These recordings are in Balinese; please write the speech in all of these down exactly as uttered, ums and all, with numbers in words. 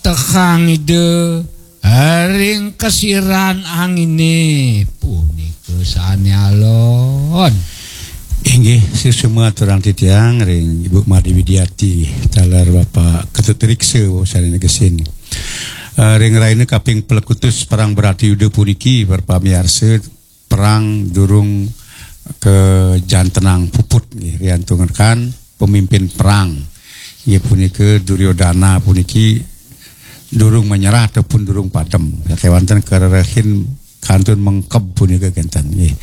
Tekang Ida ring kesiran anginé punika sané alon. Inggih, suksma aturang titiang ring Ibu Madé Widiati, taler Bapak Ketut Riksa, sané negesin. Eh, ring rahina kaping pelekutus Perang Bratayuda puniki, para pamiarsa, perang durung kajantenang puput, nggih, riantukan pemimpin perang. Inggih punika Duryodana puniki durung menyerah ataupun durung padem. Kéwanten karerehin kantun mengkeb punika kénten, nggih.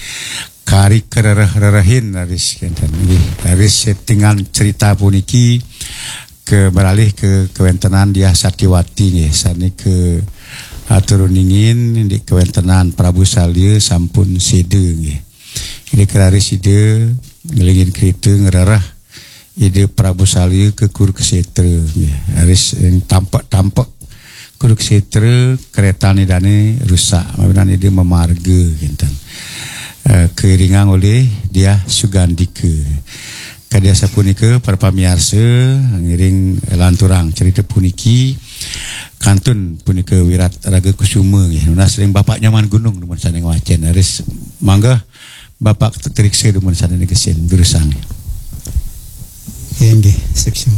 Kari karereh-rerehin raris kénten, nggih. Raris settingan cerita puniki ka beralih ka kawéntenan Diah Satyawati, nggih, sané kaatur uningin indik kawéntenan Prabu Salya sampun séda, nggih. Indik raris Ida nglingin kerita ngrereh Ida Prabu Salya ka Kurukshetra, nggih. Raris ing tampek-tampek Kurukshetra, krétan Idané rusak, mawinan Ida mamarga kénten. Eh, kairingang olih Diah Sugandika. Kadi asapunika, para pamiarsa, ngiring lanturang cerita puniki, kantun punika Wirat Raga Kusuma, nggih. Nunas ring Bapak Nyoman Gunung, dumun sané ngwacén. Raris mangga Bapak Ketut Riksa, dumun sané negesin, durusang. Inggih, suksma.